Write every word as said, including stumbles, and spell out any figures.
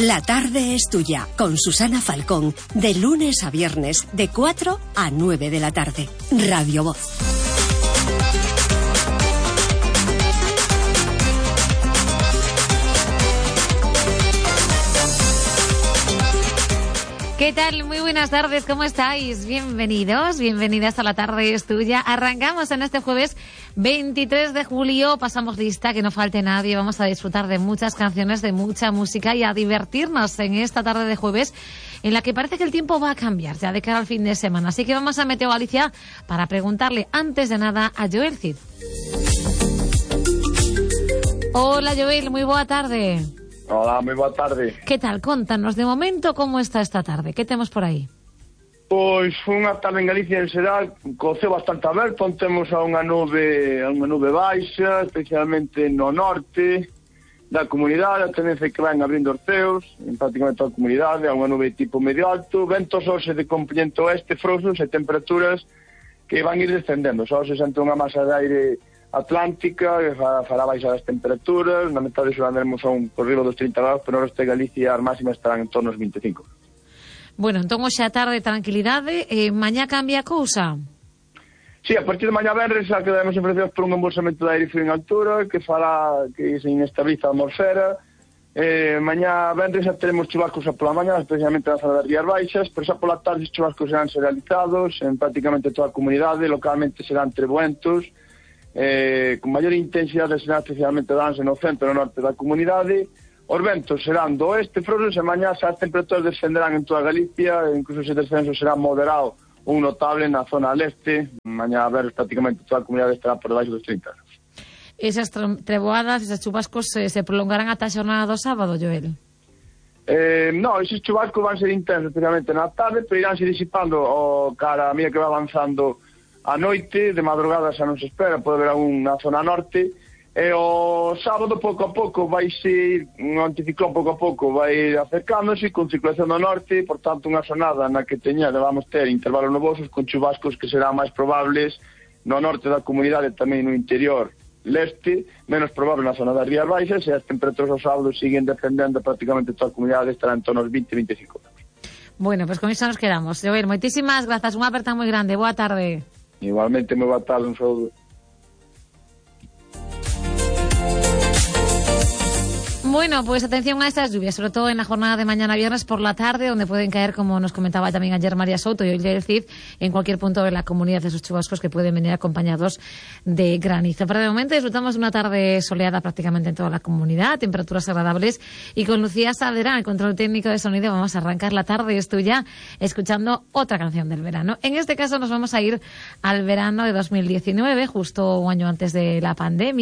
La tarde es tuya, con Susana Falcón, de lunes a viernes, de cuatro a nueve de la tarde. Radio Voz. ¿Qué tal? Muy buenas tardes, ¿cómo estáis? Bienvenidos, bienvenidas a La Tarde es Tuya. Arrancamos en este jueves veintitrés de julio, pasamos lista, que no falte nadie, vamos a disfrutar de muchas canciones, de mucha música y a divertirnos en esta tarde de jueves en la que parece que el tiempo va a cambiar ya de cara al fin de semana. Así que vamos a Meteo Galicia para preguntarle antes de nada a Joel Cid. Hola Joel, muy boa tarde. Hola, moi boa tarde. Que tal? Contanos, de momento, como está esta tarde? Que temos por aí? Pois unha tarde en Galicia en xeral, co ceo bastante aberto, onde temos a unha nube, a unha nube baixa, especialmente no norte da comunidade, a tendencia que van abrindo os ceos, en prácticamente toda a comunidade, a unha nube tipo medio alto, ventos hoxe de componente oeste frouxos e temperaturas que van ir descendendo, só se sente unha masa de aire atlántica, que fará baixar as temperaturas, na metade sur andaremos a un corrido dos trinta graus, pero no resto de Galicia as máximas estarán en torno aos vinte e cinco. Bueno, entón hoxe a tarde tranquilidade, eh, mañá cambia a cousa? Sí, a partir de mañá venres xa quedaremos enfrentados por un embolsamento de aire frío en altura que fará que se inestabiliza a atmosfera. Eh, mañá venres xa teremos chubascos a pola mañá, especialmente na zona das Rías Baixas, pero xa pola tarde os chubascos serán serializados en prácticamente toda a comunidade, localmente serán trebuentos, eh, con maior intensidade será especialmente danse no centro e no norte da comunidade. Os ventos serán do oeste frouxos e mañá xa as temperaturas descenderán en toda Galicia, incluso ese descenso será moderado un notable na zona leste. Mañá a ver prácticamente toda a comunidade estará por debaixo dos trinta. Esas treboadas, esas chubascos eh, se prolongarán ata a xornada do sábado, Joel? Eh, no, esos chubascos van ser intensos especialmente na tarde, pero iránse disipando o cara a medida que va avanzando a noite. De madrugada xa non se espera, pode haber algún na zona norte, e o sábado pouco a pouco vai ser un anticiclón, pouco a pouco vai ir acercándose con circulación do norte, por tanto unha xornada na que teña, vamos ter intervalos nubosos con chubascos que serán máis probables no norte da comunidade, tamén no interior leste, menos probable na zona das Rías Baixas, e as temperaturas ao sábado siguen descendendo, prácticamente toda a comunidade estará en torno aos vinte a veinticinco graus. Bueno, pues con iso nos quedamos. Joel, moitísimas grazas, unha aperta moi grande, boa tarde. Igualmente, moi boa tarde, un saúdo. Bueno, pues atención a estas lluvias, sobre todo en la jornada de mañana viernes por la tarde, donde pueden caer, como nos comentaba también ayer María Souto y hoy el Cid, en cualquier punto de la comunidad, de esos chubascos que pueden venir acompañados de granizo. Pero de momento disfrutamos de una tarde soleada prácticamente en toda la comunidad, temperaturas agradables, y con Lucía Saavedra, el control técnico de sonido, vamos a arrancar La Tarde es Tuya escuchando otra canción del verano. En este caso nos vamos a ir al verano de dos mil diecinueve, justo un año antes de la pandemia.